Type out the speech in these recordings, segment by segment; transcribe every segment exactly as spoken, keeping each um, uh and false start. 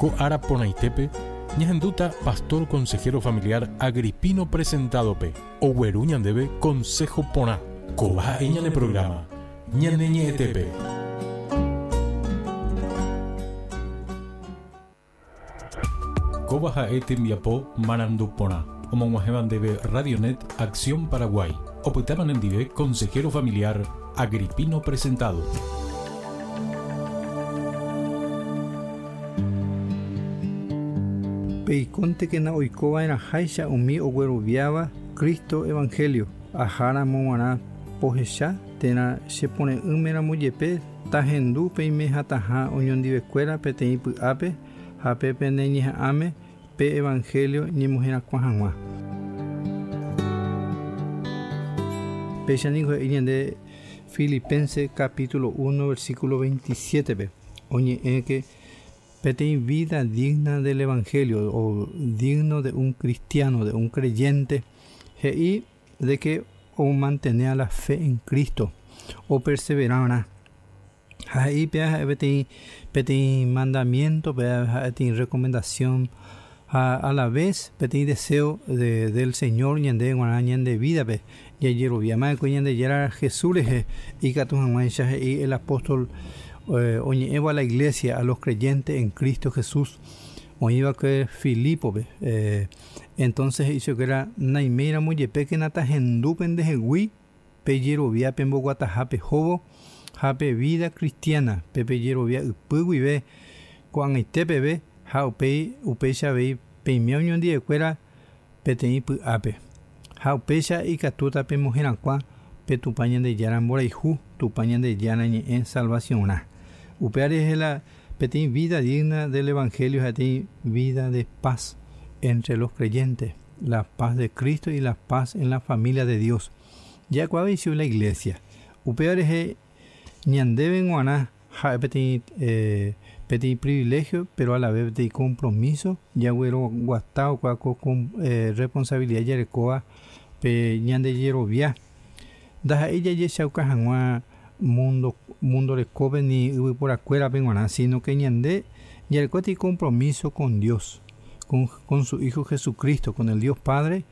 Ko ára porãitépe ñahendúta pastor consejero familiar Agripino Presentadope ogueru ñandéve consejo porã. Kóva ha'e ñane programa Ñane Ñe'ẽtépe. Kóva ha'e tembiapo marandu porã omog̃uahẽva ndéve Radionet Acción Paraguay. Opytáva nendive consejero familiar Agripino Presentado. Peikontekena oikova'erãháicha umi ogueroviáva Cristo Evangelio aháramo g̃uarã pohecha térã chepore'ỹmeramo jepe tahendu peime hatãha oñondivekuéra peteĩ py'ápe ha pe peneñeha'ãme pe Evangelio ñemoherakuã hag̃ua. Péicha niko he'i ñande Filipenses capítulo uno versículo veintisiete-pe oñe'ẽke peteĩ vida digna del Evangelio o digno de un cristiano, de un creyente, he'i de que o mantenea la fe en Cristo o perseverará. Ha he'i péa peteĩ peteĩ mandamiento, péa peteĩ recomendación ha a la vez peteĩ deseo de, del Señor ñande g̃uarã ñande vida-pe jajeroviama'ekue Ñandejára Jesús rehe ikatu hag̃uáicha he'i el apóstol eh, oñe'ẽvo a la iglesia, a los creyentes en Cristo Jesús oĩva'ekue Filipo-pe. Eh, entonces he'i chupekuéra naiméiramo jepékena tahendúpe ndehegui pejerovia pemboguataha pehóvo ha pe vida cristiana pe pejerovia ypy guive ko'ag̃aite peve ha upéi upéicha avei peime oñondivekuéra peteĩ py'ápe ha upéicha ikatúta pemoherakuã pe Tupã Ñandejára mborayhu Tupã Ñandejára ñe'ẽ salvación-rã. Upéva rehe la peteĩ vida digna del Evangelio peteĩ vida de paz entre los creyentes, la paz de Cristo y la paz en la familia de Dios. Jaikuaave ichupe la iglesia. Upéva rehe ñandéve g̃uarã ha'e peteĩ eh, peteĩ privilegio pero a la vez peteĩ compromiso jagueroguata okua ko eh, responsabilidad jarekóva pe ñandejerovia ndaha'éi jajechauka hag̃ua mundo mundo rekópe ni yvyporakuérape g̃uarã sino que ñande jareko peteĩ compromiso con Dios, con, con su Hijo Jesucristo, con el Dios Padre,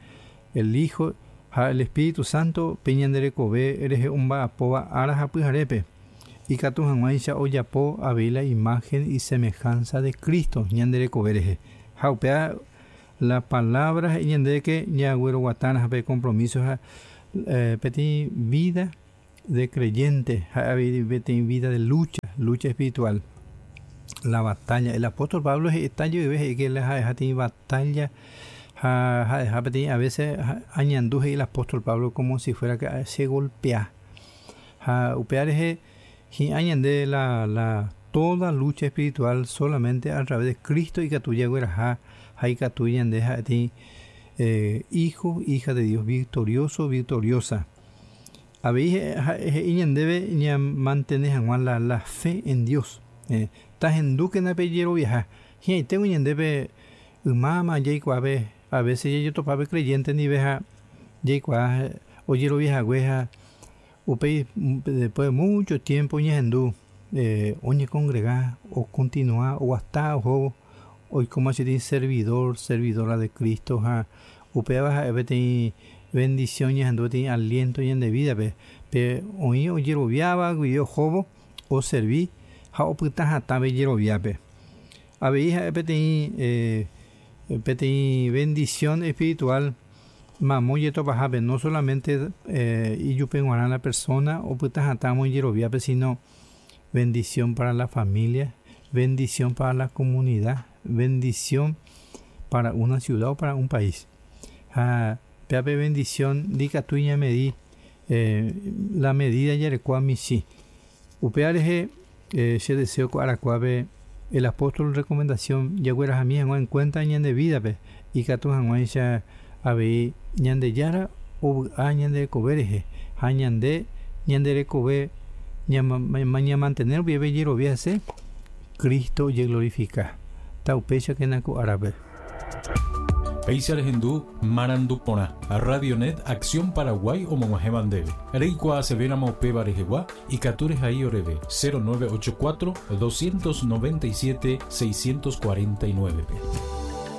el Hijo ha el Espíritu Santo pe ñanderekove rehe omba'apóva ára ha pyharépe ikatu hag̃uáicha ojapo avei la imagen y semejanza de Cristo ñanderekove rehe ha upéva la palabra he'i ñandéve que jagueroguatárã pe compromiso ha eh, peteĩ vida de creyente ha avei peteĩ vida de lucha, lucha espiritual. La batalla, el apóstol Pablo he'ita jeyve he'i que la ha'eha peteĩ batalla ha ha'eha peteĩ a veces añandu he'i el apóstol Pablo como si fuera que se golpea ha upéva rehe hi'ã ñande la la toda lucha espiritual solamente a través de Cristo ikatu jagueraha ha ikatu ñande ha'e eh, hijo, hija de Dios, victorioso, victoriosa. Avei he'i ñandéve ñamantene hag̃ua la, la fe en Dios. Eh, tahendúkena pejeroviaha. Hi'ãiténgo ñandéve ymáma jaikuaave a veces jajotopápe creyente ndive ha jaikuaa ojeroviahague ha upéi después de mucho tiempo ñahendu eh, oñecongrega o continúa oguasta ohóvo oikóma peteĩ servidor, servidora de Cristo ha upéva ha'e peteĩ bendición ñahendu peteĩ aliento ñande vida-pe pe oĩ ojeroviáva guive ohóvo oservi ha opyta hatãve jeroviápe. Avei ha'e peteĩ eh, peteĩ bendición espiritual mamo jetopahápe no solamente eh, ijupe g̃uarã la persona opyta hatãvo ijeroviápe sino bendición para la familia, bendición para la comunidad, bendición para una ciudad o para un país. Ha péape bendición ndikatúi ñamedi eh, la medida jarekóva michĩ. Upéva rehe eh, che deseo ko arakuápe el apóstol recomendación jaguerahami hag̃ua en cuenta ñande vida-pe ikatu hag̃uáicha avei Ñandejára ovy'a ñanderekove rehe ha ñande ñanderekove ñamantener rupive jerovia hese Cristo ojeglorifica. Taupéichakena ko árape. Péicha rehendu Marandu Porã, Radionet Acción Paraguay omog̃uahẽva ndéve. Reikuaasevéramo upéva rehegua ikatu rehai oréve cero nueve ocho cuatro doscientos noventa y siete seiscientos cuarenta y nueve-pe.